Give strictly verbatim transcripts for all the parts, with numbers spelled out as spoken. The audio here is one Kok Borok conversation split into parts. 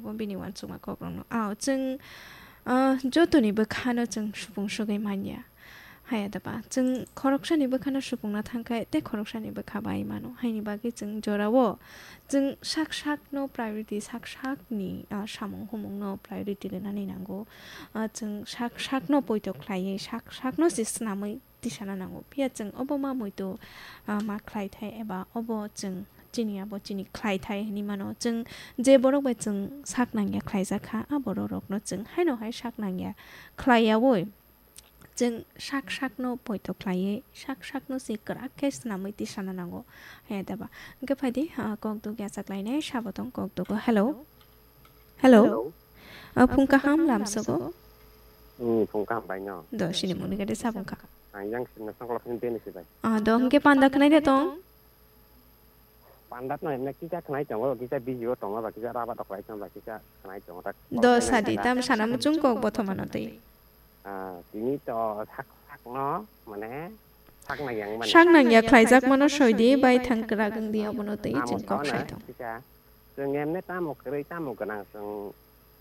Bo bini uansukma kokrokno. Ao, chwng, ah, jotoni bwkhano chwng supung sugwi manya. Haya da ba? Chwng khoroksani bwkhano supungna thangkhe, tei khoroksani bwkha bai mano. Haini bagwi chwng jorao chwng sak sakno priority, sak sakni, ah, samung humungno priority rwnani nango. Ah, chwng sak sakno poito khlaiwi, sak sakno se snamwi tisana nango. Phiya chwng obo ma muitu, ah, ma khlaithai eba obo chwng chini abo chini khlaithai hinwi mano. Chwng je borok bai chwng sak nangya khlaijak kha, a borok rokno chwng haino hai sak nangya khlaiyaui chwng sak sakno poito khlaiwi sak sakno se kwrak khe swnamwi tisana nango. He da ba? Hwnkhe phaidi, ah, kok duk yachaklainai sabo tong kok dugo. Hello? Hello? Hello? Ah, phung kaham lamsogo? Hmm, phung kaham bai no. Do, sini mungni gade sabung kha. Ang yang sini songkla phani deni si bai. Ah, do, hwnkhe panda khwnai de tong? Panda no emne kisa khwnai tongo, kisa busy o tongo, ba kisa raba doklai tongo, ba kisa khwnai tongo, tak. Do, sadi, tam sana muchung kok bothomano tei. Ah, tini to sak sakno, mane, sak nang yang mane. Sak nang ya khlaijak mano soidi, bai thang kwrak wng di, abono tei chwng kok sai tong. Kisa, chwng emne tamo kwrwi, tamo gwnang, chwng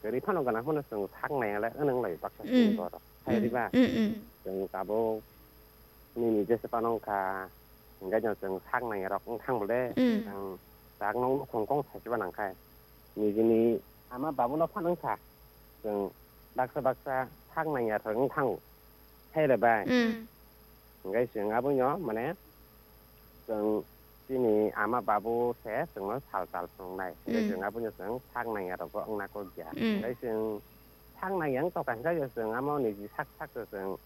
kwrwi phano gwnang phano chwng sak nang ya le, wnang lai baksa chwng borok. Hai di ba? Mm, mm. Chwng tabuk nini jesa phano wngkha, hingke chwng sak nang ya rok wng thang bole, chwng sak nang nukhung kong sai se ba nang khai. Nijini ama babuno phano wngkha. Chwng baksa baksa sak nangya thwng thango. Hai le bai. Mm. Hingke chwng abono mane chwng chini ama babu se chwngno sal tal phunuknai. Hingke chwng abono chwng sak nangya rokbo wngna kok ya. Mm. Hingke chwng sak nangya wng tongkha hingke chwng amo niji sak sak se chwng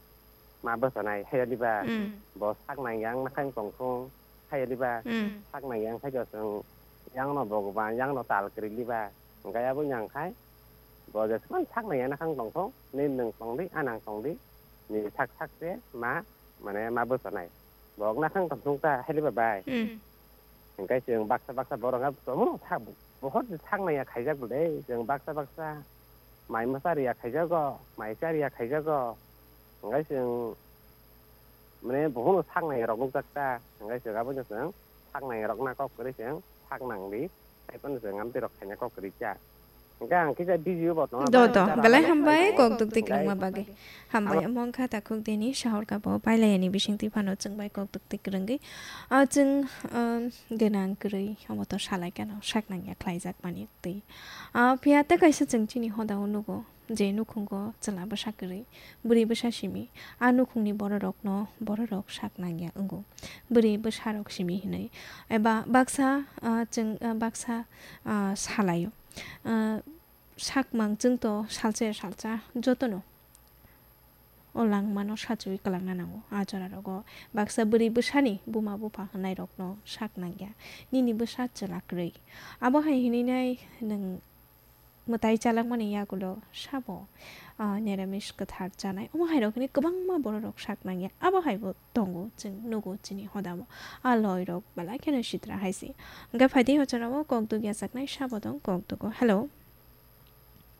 ma bwchanai hai ya diba? Mm. Bo sak nangya wng nakhai tongthung hai ya diba? Mm. Sak nangya wng khaikhe chwng yangno bogoban yangno tal kwrwi liba. Hingke abo wngya wng khai bo jesmani sak nangya nakhang tongthung, nini nwng tongdi, a nang tongdi, nini sak sak se ma, mane ma bwchanai. Bo wngna khang tongthung ta hai liba bai. Mm. Hingke chwng baksa baksa borok ha tongmano sak, bohot sak nangya khaijak bwle. Chwng baksa baksa mai mwsa riya khaijago, mai cha riya khaijago. Hingke chwng mane bohono sak nangya rok nukjak ta. Hingke chwng abono chwng sak nangya rokna kok kwrwi chwng sak nangdi. Hai phano chwng amtwi rok khaina kok kwrwi cha. Hingke ang kisa busy bo tongma. Do, bai do. Belai hambai kok duk tik rwngma bagwi. Hambai amo wngkha takhuk dini sahor kabo pailai ani bising twi phano chwng bai kok duk tik rwngwi. Ah, chwng, um, gwnang kwrwi omo to salai kano sak nangya khlaijak mani twi. Ah, phiya tei kaisa chwng chini hoda o nugo je nukhungo chwla bwsa kwrwi, bwrwi bwsa simi, a nukhungni bororokno bororok sak nangya wngo. Bwrwi bwsarok simi hinwi. Eba baksa, ah, chwng, ah, baksa, ah, salaio. Ah, sakmang chwngto salsa ya salsa jotono o langmano sachiwi kwlangna nango. A jorarogo baksa bwrwi bwsani buma bupha hwnairokno sak nangya. Nini bwsa chwla kwrwi. Abo hai hinwi nai nwng mwtai chalakmani yagulo sabo, ah, niramis kwthar chanai. Omo hairok hwnwi kwbangma bororok sak nangya. Abo haibo tongo, chwng nugo chini hodamo. A loirok belai kheno sitra hai se. Hwnkhe phaidi o jorao kok duk yachaknai sabo tong kok dugo. Hello?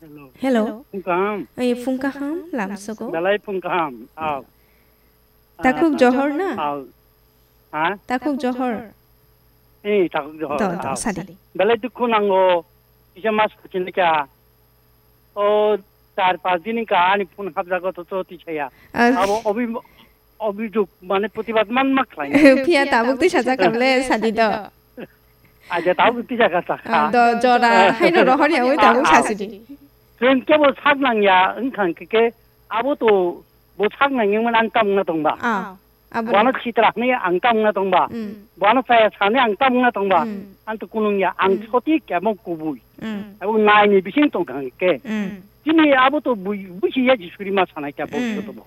Hello. Hello. Phung kaham. Ei, phung kaham, lamsogo. Belai phung kaham. Aw. Takhuk Johor na? Aw. Ha? Takhuk Johor. Eh, takhuk Johor. Do, do, aw. Sadi. Belai dukhu nango. Kisa mas kachin ka. O, char pas din ka ani phone hapjago to, to tisaya. Ah. Abo obi, obi juk, mane protibad man mak khlai. Phiya tabuk tisa jakable sadi do. Aja tabuk tisa ka sakha. Ah, do, jora, haino rohor ya, ui tabuk sasidi. Chwng kebo sak nangya, wngkha hwnkhe khe abo to bo sak nangya man ang tam wngna tongba. Ah, abo. Bono sitra hwnwi ang tam wngna tongba. Mm. Bono chaya sani ang tam wngna tongba. Mm. Ang to kunung ya, ang Mm. soti kebo kubui. Mm. Abo nai ni bising tong kha hwnkhe. Mm. Chini abo to bui, busi ya ji suri ma sanai kya bo Mm. to bo.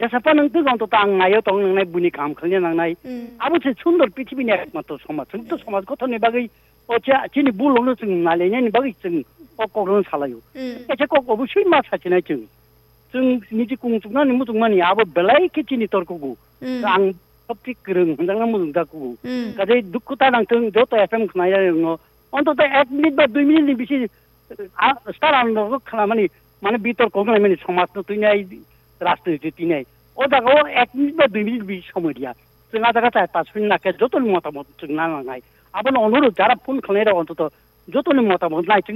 Jesa pa nwng twi gong to ta ang naio tong nangnai, buini kaham khlaina nangnai. Mm. Abo se sundor prithibi ni ekmatro somaj. Chwng to somaj gothon ni bagwi o cha chini bul rokno chwng nailainani bagwi chwng o kok rokno salaio. Mm. Kaisa kok obosui ma sachinai chwng. Chwng niji kung chuknani muchungmani abo belai khe chini torkugo. Mm. Ang sopti kwrwng hwnjakna muchungjakkugo. Mm. Kaje dukhu ta nangthwng joto F M khwnai rokno. Ontoto ek minute ba dui minute ni bisi, ah, star ang rok khwnamani, mane bitor kok nai mani somaj no tuinai, rajniti tuinai. O jaga o ek minute ba dui minute bisi somoi dia. Chwng a jaga chai pas minute nakhe joto ni motamot chwng na nangnai. Abono onurod jara phone khwnai rok ontoto joto ni motamot nai chwng